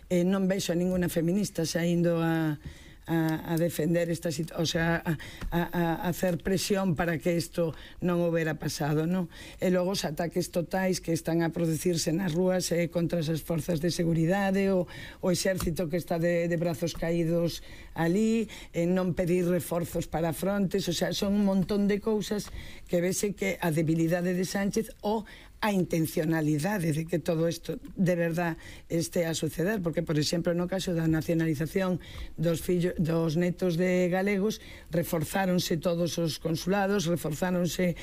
non vexo a ninguna feminista saindo a defender esta situación, o sea, a hacer presión para que isto non houbera pasado, non? E logo os ataques totais que están a producirse nas rúas contra as forzas de seguridade, o exército que está de brazos caídos ali, non pedir reforzos para frontes, o sea, son un montón de cousas que vese que a debilidade de Sánchez ou a intencionalidade de que todo isto de verdad este a suceder, porque, por exemplo, no caso da nacionalización dos netos de galegos, reforzáronse todos os consulados, reforzáronse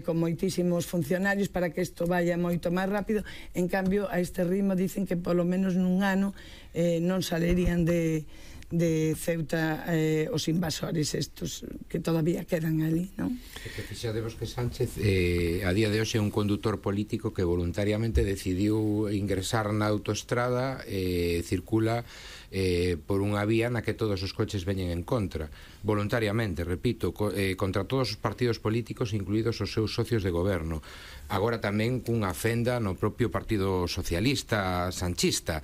con moitísimos funcionarios para que isto vaya moito máis rápido. En cambio, a este ritmo dicen que polo menos nun ano non salerían de Ceuta os invasores estos que todavía quedan ali, non? Que fixadevos que Sánchez a día de hoxe é un condutor político que voluntariamente decidiu ingresar na autoestrada, circula por unha vía na que todos os coches veñen en contra, voluntariamente, repito, contra todos os partidos políticos, incluídos os seus socios de goberno. Agora tamén cunha fenda no propio Partido Socialista sanchista,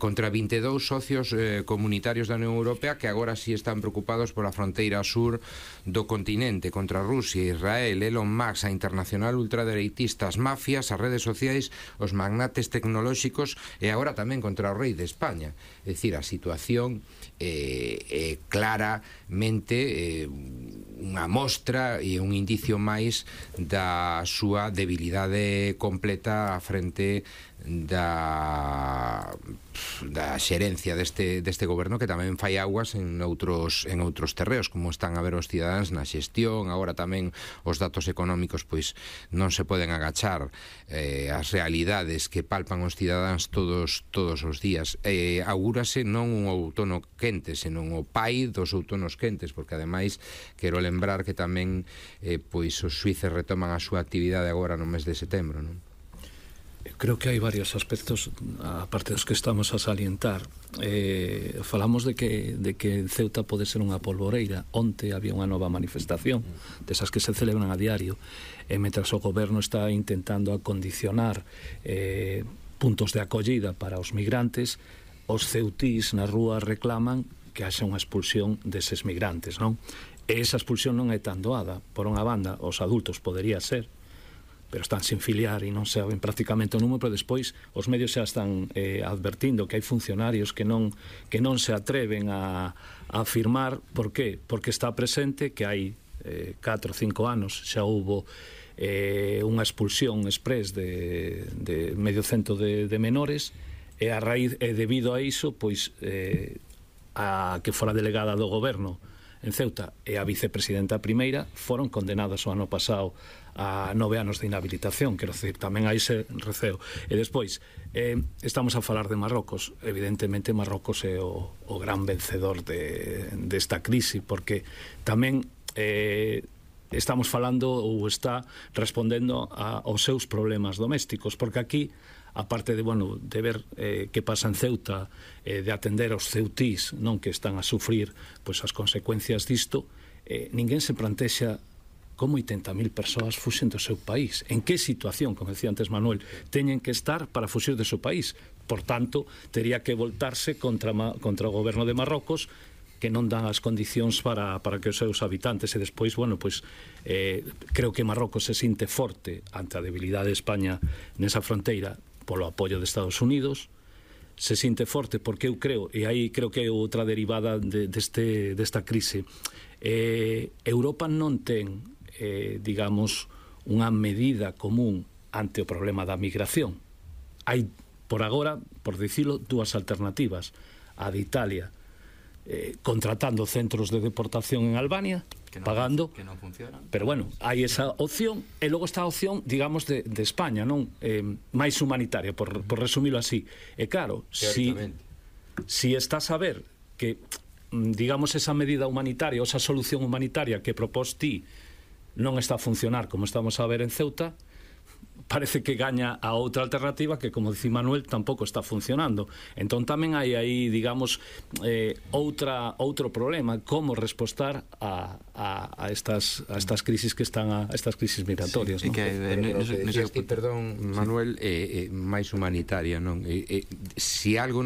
contra 22 socios comunitarios da Unión Europea que agora sí están preocupados pola fronteira sur do continente, contra Rusia, Israel, Elon Musk, a internacional ultradereitista, as mafias, as redes sociais, os magnates tecnolóxicos e agora tamén contra o rei de España. É dicir, a situación é claramente unha mostra e un indicio máis da súa debilidade completa frente da xerencia deste goberno, que tamén fai aguas en outros terreos, como están a ver os cidadáns na xestión. Agora tamén os datos económicos pois non se poden agachar as realidades que palpan os cidadáns todos os días. Augúrase non un outono quente, senón o pai dos outonos quentes, porque ademais quero lembrar que tamén pois os xuíces retoman a súa actividade agora no mes de setembro, non? Creo que hai varios aspectos, aparte dos que estamos a salientar. Falamos de que Ceuta pode ser unha polvoreira. Onte había unha nova manifestación desas que se celebran a diario, e mentras o goberno está intentando acondicionar puntos de acollida para os migrantes, os ceutís na rúa reclaman que haxa unha expulsión deses migrantes, non? E esa expulsión non é tan doada. Por unha banda, os adultos podería ser, pero están sin filiar e non saben prácticamente o número, pero despois os medios xa están advertindo que hai funcionarios que non se atreven a afirmar. Por qué? Porque está presente que hai 4 ou 5 anos xa houbo unha expulsión exprés de medio cento de menores, e a raíz, debido a iso, pois a que fora delegada do goberno en Ceuta e a vicepresidenta primeira foron condenadas o ano pasado a 9 anos de inhabilitación. Quero decir, tamén hai ese receo. E despois, estamos a falar de Marrocos. Evidentemente Marrocos é o gran vencedor desta crise, porque tamén estamos falando ou está respondendo aos seus problemas domésticos, porque aquí, aparte de ver que pasa en Ceuta, de atender aos ceutís, non, que están a sufrir pois as consecuencias disto, ninguén se plantexa como 80.000 persoas fuxen do seu país. En que situación, como decía antes Manuel, teñen que estar para fuxir do seu país? Por tanto, tería que voltarse contra o goberno de Marrocos, que non dan as condicións para que os seus habitantes. E despois, creo que Marrocos se sinte forte ante a debilidade de España nesa fronteira polo apoio de Estados Unidos, se sinte forte porque eu creo, e aí creo que é outra derivada desta crise, Europa non ten, digamos, unha medida común ante o problema da migración. Hai, por agora, por dicilo, dúas alternativas: a de Italia, contratando centros de deportación en Albania, pagando, que non funcionan. Pero hai esa opción, e logo está a opción, digamos, de España, non? Máis humanitaria, por resumilo así. E claro, si estás a ver que, digamos, esa medida humanitaria, ou esa solución humanitaria que propós ti non está a funcionar como estamos a ver en Ceuta, parece que gaña a outra alternativa que, como dicía Manuel, tampouco está funcionando. Entón tamén hai aí, digamos, outro problema: como respostar a estas crisis que están a estas crisis migratorias, non? Perdón, Manuel, máis humanitaria, non? Si algo nos